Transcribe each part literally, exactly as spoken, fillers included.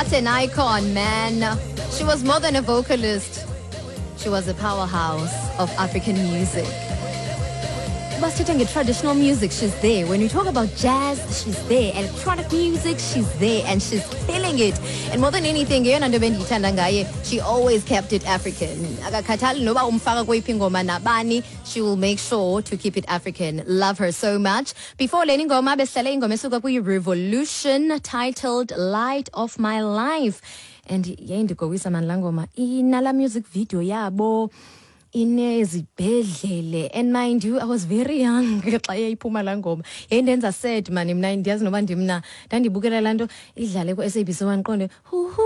What an icon, man. She was more than a vocalist. She was a powerhouse of African music. Uba sithetha nge-traditional music, she's there. When you talk about jazz, she's there. Electronic music, she's there, and she's killing it. And more than anything, eyona nto bendiyithanda ngaye, she always kept it African. Akakhathali noba umfaka kweyiphi ingoma nabani, she will make sure to keep it African. Love her so much. Before le ingoma, besihlale ingoma esuka kwi-Revolution titled Light of My Life. And yayindigowisa mani laa ngoma. Inala music video yabo inezibhedlele, and mind you, I was very young xa yayiphuma laa ngoma. Yayindenza sad mani mna. Ndiyazi noba ndimna ndandibukela laa nto idlale ku-S A B C one, ndiqonde huhu,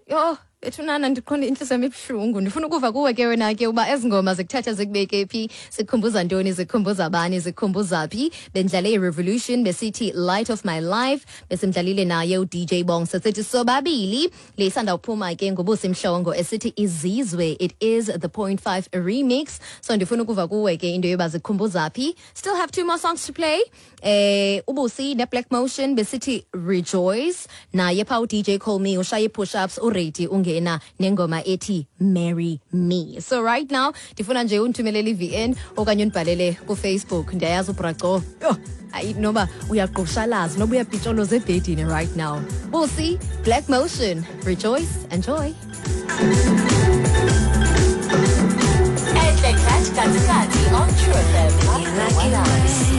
yho bethunana, ndiqonde intliziyo yam ibuhlungu. Ndifuna ukuva kuwe ke wena ke uba ezi ngoma zikuthatha zikubeke phi, zikukhumbuza ntoni, zikukhumbuza bani, zikukhumbuza phi. Bendidlale i-Revolution, besithi Light of My Life. Besimdlalile naye u-D J Bongsa, sithi sobabili. Le isandawuphuma ke nguBusi Mhlongo esithi Izizwe. It is the point five remix. So ndifuna ukuva kuwe ke into yoba zikukhumbuza phi. Still have two more songs to play. eh uBusi ne-Black Motion besithi Rejoice. Naye pha u-D J Call Me ushaye push-ups, uready, ungena nengoma ethi Marry Me. So right now ndifuna nje undithumelele i-V N okanye undibhalele kuFacebook. Ndiyayazi ubraco, yho, ayi, noba uyagqushalaza noba uyapitsholoza ebhedini right now. Busi, Black Motion, Rejoice. Enjoy. Enhle Cat Katikati on True F M.